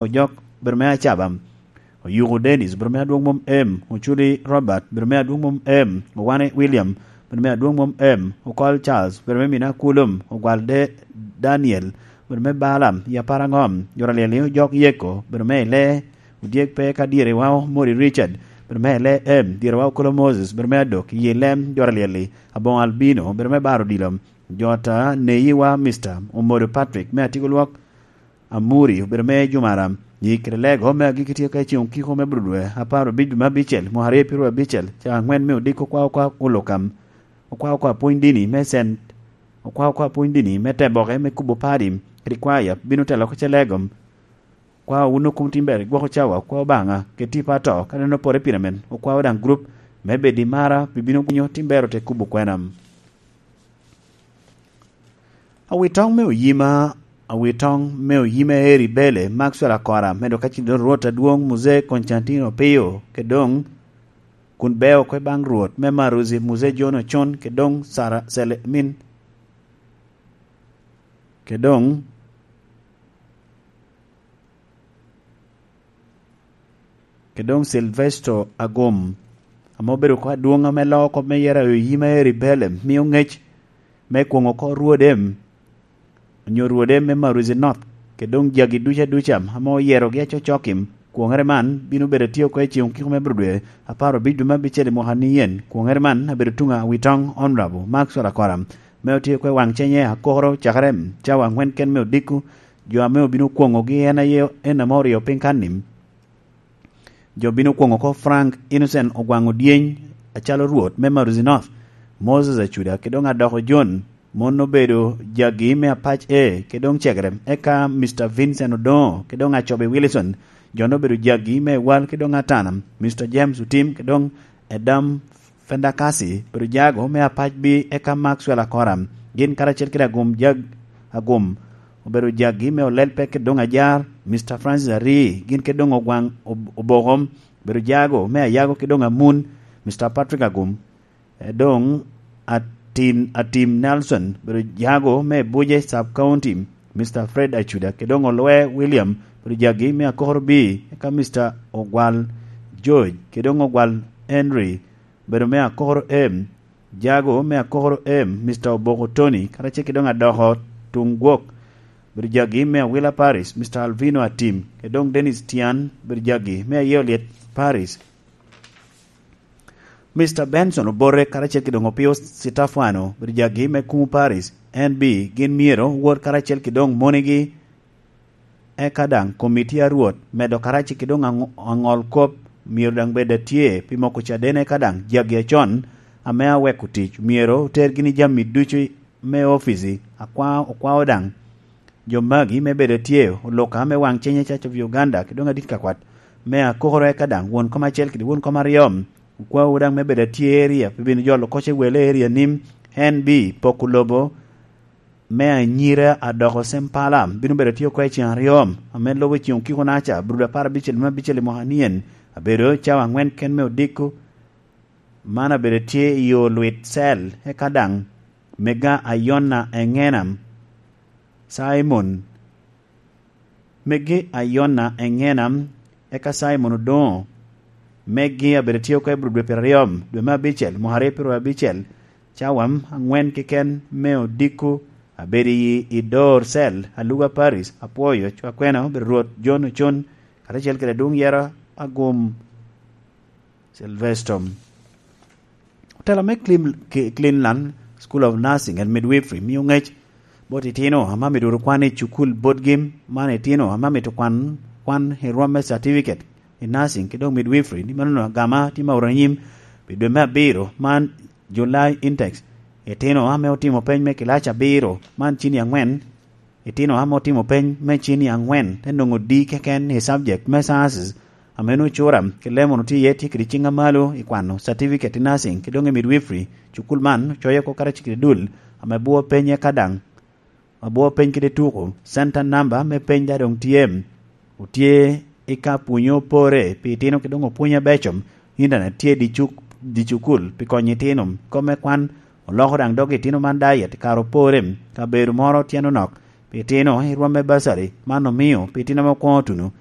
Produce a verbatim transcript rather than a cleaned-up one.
Ojok, bedo me Acaba. Oyuko Dennis, bedo me adwoŋ mom em. Oculi Robert, bedo me adwoŋ mom em. Owane William, bedo me adwoŋ mom em. Okol Charles, bedo me mina Kulum. Ogwal De-, Daniel, bedo me Balaam, i apar aŋom. Jor alyel-li Ojok Yeko, bedo me Ile. Odyek pe ka dyere wa Omori Richard, bedo me Ile em. Dyere wa Okolo Moses, bedo me Adok, i lem jor alyel-li. Aboŋo Albino, bedo me Baro Odilo. Jota Neyi wa Mister Omodo Patrick, me Atigo Lwok. Amuri, obedo me Jumara. Yi kede lego me agikki tye ka i ceŋ okiko me Budwe, apar obic dwe me abicel, mwaka aryo pyeraryo abicel, ca aŋwen me odiko okwa okwa Olokam. Okwa okwa pwony dini me Cent, okwa okwa pwony dini me Teboke me kubo padi, kede kwaya bino telo oko ce lego. Okwa wun okum tim ber, igwoko cawa, okwa Obaŋa, kede tipo ato, ka neno pore pire men, okwa daŋ grup me bedi mara, bibino kunyo tim ber ote kubo kwena. Awitoŋ me oyima, awitoŋ me oyima Eri Bele, Maxwell Akora, medo ka cin doŋ Rwot adwoŋ Muzee Konstantino Opio, kede doŋ kun beo kwe baŋ Rwot me Maruzi Muzee John Ocon, kede doŋ Sara Selemin, kede doŋ kede doŋ Silvesto Agum, ame obedo oko adwoŋ ame loo kop me yero ayo yim a Eri Belem, mio ŋec me kwoŋo oko rwode, onyo rwode me Maruzi North, kede doŋ jagi duca duca ame oyerogi acocok-ki. Kwoŋere man bino bedo atye oko i ceŋ okiko me Budwe apar obic dwe me abicel i mwaka ni yen. Kwoŋere man abedo tuŋ a Witoŋ Honorable Maxwell Akora, me otye oko i waŋ cenye akokoro cakere cawa aŋwen ken me odiko. Jo ame obino kwoŋogi en aye en ame oryo piny kan-ni. Jo bino kwoŋo oko Frank Innocent Ogwaŋ Odyeny acalo Rwot me Maruzi North, Moses Acuda, kede doŋ Adoko John, mon obedo jagi me Apac A, kede doŋ Cegere, eka Mister Vincent Odoŋo, kede doŋ Acobe Wilson, jo obedo jagi me Ewal, kede doŋ Atana, Mister James Otim, kede doŋ Edam Fendakasi, obedo jago me Apac B, eka Maxwell Akora, gin karacel kede Agum Jag-, Agum, obedo jagi me Olelpe kede doŋ Ajar, Mister Francis Ari, gin kede doŋ Ogwaŋ Ob-, Oboko, obedo jago me Ayago kede doŋ Amun, Mister Patrick Agum, e doŋ Atin, Atim Nelson, obedo jago me Buje Sub County, Mister Fred Acuda, kede doŋ Olwe William, obedo jagi me Akokoro B, eka Mister Ogwal George, kede doŋ Ogwal Henry, obedo me Akokoro M, jago me Akokoro M, Mister Oboko Tony, karacel kede doŋ Adoko Tuŋ Gwok, obedo jagi me Awila Parish, Mister Alvino Atim, kede doŋ Dennis Tian, obedo jagi me Ayeolyet Parish. Mister Benson Obote, karacel kede doŋ Opio Sitafano, obedo jagi me Kumu Parish, N B, gin myero wot karacel kede doŋ monegi, eka daŋ komiti a Rwot, medo karacel kede doŋ aŋo-, aŋol kop, myero daŋ bed atye pi moko caden, eka daŋ jagi acon ame aweko tic, myero oter gini jami ducu me ofici, akwa-, okwao daŋ jo magi me bedo atye, oluka me waŋ cenye Church of Uganda, kede doŋ adit ka kwat me Akokoro, eka daŋ won kom acel kede won kom aryo, okwawu daŋ me bedo atye area, pi bino jolo koc ewel area ni N B, poko lobo me anyira Adoko Sempala, bino bedo atye oko i ceŋ aryo, ame lubo i ceŋ okiko naca, Abril apar abicel me abicel i mwaka nien, abedo cawa aŋwen ken me odiko, man abedo tye i yo Lwit Cel, eka daŋ mega Ayona Eŋena, Simon, megi Ayona Eŋena, eka Simon Odoŋo, megi abedo tye oko i Abril dwe pyeraryo, dwe me abicel, mwaka aryo pyeraryo abicel, cawa aŋwen keken me odiko, abedo i, i Dor Cel, Aluga Paris, apwoyo, cwakwena, obedo Rwot John Ocon, karacel kede adwoŋ yero Agum Silvestom. Otela me Clean-, Ke-, Cleanland School of Nursing and Midwifery mio ŋec bot itino ame amito wot kwan i cukul botgi, man itino ame amito kwan, kwan i rwom me certificate i nursing kede doŋ midwifery, ni mano agama tye ma oto anyim pi dwe me abiro, man July intakes. Itino ame otimo peny me kilac abiro, man cini aŋwen, itino ame otimo peny me cini aŋwen, te nwoŋo D keken i subject me sciences, ame nwoŋo cura kede lemon otye iye tye kede ciŋ amalo i kwano certificate i nursing, kede doŋ i midwifery. Cukul man ocoyo oko karacel kede dul ame bwoo peny eka daŋ, abwoo peny kede tuko, center number me peny daŋ doŋ tye. Otye i ka pwonyo pore pi itino kede doŋ opwony abeco, internet tye i dye cuk-, dye cukul pi konyo itino. Kop me kwan oloko daŋ dog itino man diet i kare opore, kabedo moro tyen onok pi itino i rwom me bursary, man omio pi itino ame okwoŋo tuno